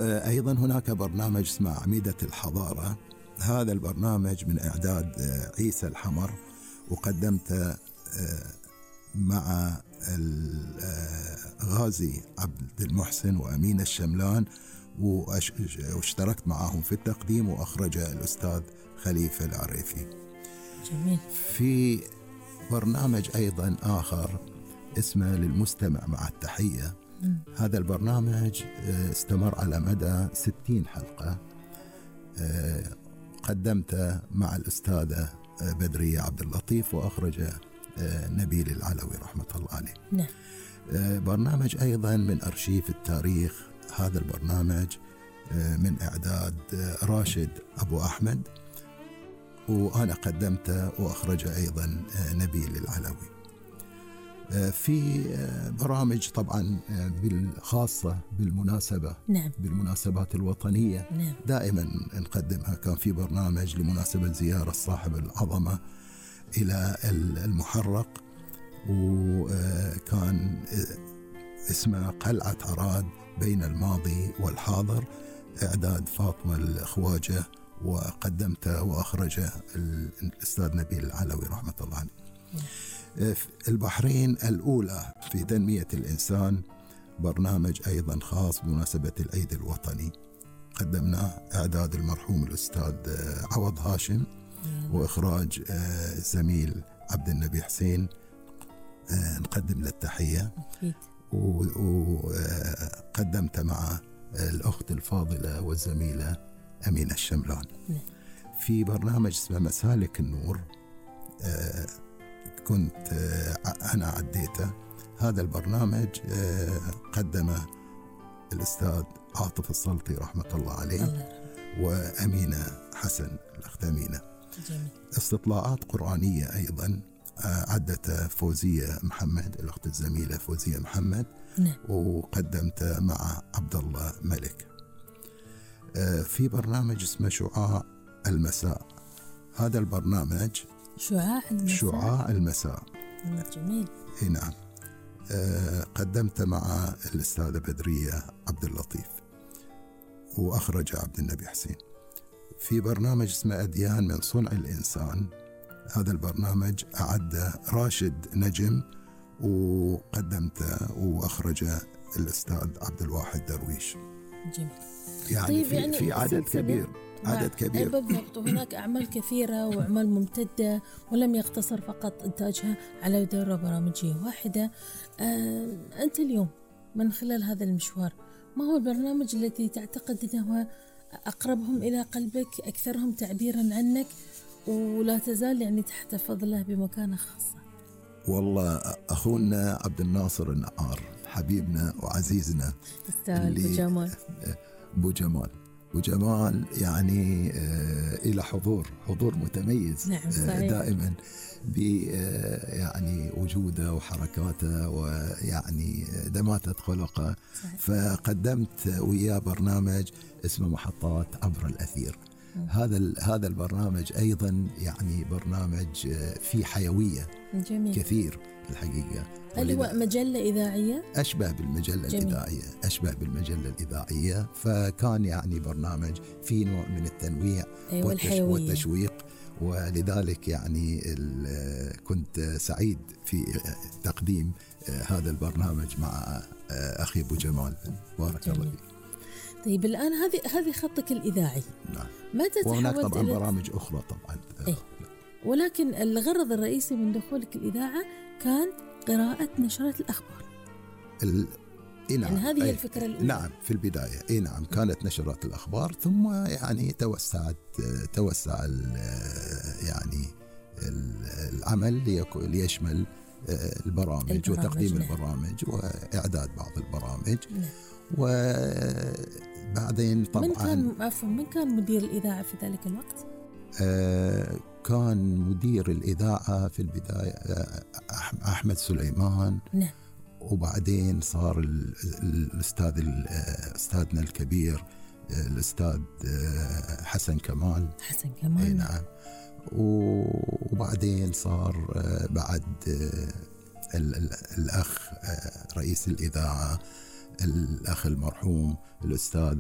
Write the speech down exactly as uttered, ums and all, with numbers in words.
أيضا هناك برنامج اسمه عميدة الحضارة. هذا البرنامج من إعداد عيسى الحمر، وقدمته مع الغازي عبد المحسن وأمين الشملان، واشتركت معهم في التقديم، وأخرجه الأستاذ خليفة العريفي. جميل. في برنامج أيضا آخر اسمه للمستمع مع التحية. م. هذا البرنامج استمر على مدى ستين حلقة، قدمته مع الأستاذة بدرية عبد اللطيف، وأخرجه نبيل العلوي رحمة الله عليه. نعم. برنامج أيضا من أرشيف التاريخ. هذا البرنامج من إعداد راشد أبو أحمد، وأنا قدمته وأخرجه أيضا نبيل العلوي. في برامج طبعا بالخاصة بالمناسبة، نعم. بالمناسبات الوطنية، نعم. دائما نقدمها. كان في برنامج لمناسبة زيارة صاحب العظمة إلى المحرق، وكان اسمه قلعة عراد بين الماضي والحاضر، إعداد فاطمة الخواجة، وقدمته وأخرجه الأستاذ نبيل العلوي رحمة الله عليه. البحرين الأولى في تنمية الإنسان، برنامج أيضا خاص بمناسبة العيد الوطني، قدمناه إعداد المرحوم الأستاذ عوض هاشم، وإخراج الزميل عبد النبي حسين. نقدم له التحية. وقدمت مع الأخت الفاضلة والزميلة أمين الشملان. في برنامج اسمه مسالك النور، كنت أنا عديته. هذا البرنامج قدمه الأستاذ عاطف السلطي رحمة الله عليه، وأمينة حسن الأخت أمينة. جميل. استطلاعات قرآنية أيضا عدته فوزية محمد، الأخت الزميلة فوزية محمد. نعم. وقدمته مع عبد الله ملك. في برنامج اسمه شعاع المساء. هذا البرنامج شعاع المساء. شعاع المساء. جميل. نعم. قدمت مع الأستاذة بدرية عبد اللطيف، وأخرج عبد النبي حسين. في برنامج اسمه أديان من صنع الإنسان. هذا البرنامج أعد راشد نجم، وقدمته وأخرجه الأستاذ عبد الواحد درويش. جميل. يعني, طيب في, يعني في عدد كبير عدد كبير بالضبط. وهناك أعمال كثيرة وأعمال ممتدة، ولم يقتصر فقط إنتاجها على دورة برامجية واحدة. آه أنت اليوم من خلال هذا المشوار، ما هو البرنامج الذي تعتقد أنه أقربهم إلى قلبك، أكثرهم تعبيرا عنك، ولا تزال يعني تحتفظ له بمكانة خاصة؟ والله أخونا عبد الناصر النعار حبيبنا وعزيزنا، أبو جمال أبو جمال أبو جمال يعني آه إلى حضور حضور متميز. نعم. آه دائما ب آه يعني وجوده وحركاته ويعني دماتة خلقه. فقدمت وياه برنامج اسمه محطات عبر الأثير. هذا هذا البرنامج أيضا يعني برنامج فيه حيوية. جميل. كثير الحقيقة. هل هو مجلة إذاعية؟ أشبه بالمجلة جميل. الإذاعية أشبه بالمجلة الإذاعية. فكان يعني برنامج فيه نوع من التنويع والتشويق، ولذلك يعني كنت سعيد في تقديم هذا البرنامج مع أخي أبو جمال. بارك الله فيك. طيب الآن هذه هذه خطك الإذاعي. نعم. متى تحولت؟ وهناك طبعا برامج أخرى طبعا. إيه؟ ولكن الغرض الرئيسي من دخولك الإذاعة كان قراءة نشرات الأخبار. ال... إيه نعم. يعني هذه أي. الفكرة الأولى. نعم في البداية. إيه نعم كانت نشرات الأخبار، ثم يعني توسعت توسع ال... يعني العمل ليشمل البرامج, البرامج وتقديم نعم. البرامج وإعداد بعض البرامج. نعم. وبعدين طبعا من كان عفوا من كان مدير الإذاعة في ذلك الوقت؟ آه كان مدير الإذاعة في البداية أحمد سليمان. نعم. وبعدين صار الأستاذ أستاذنا الكبير الأستاذ حسن كمال. حسن كمال. نعم. وبعدين صار بعد الأخ رئيس الإذاعة الأخ المرحوم الأستاذ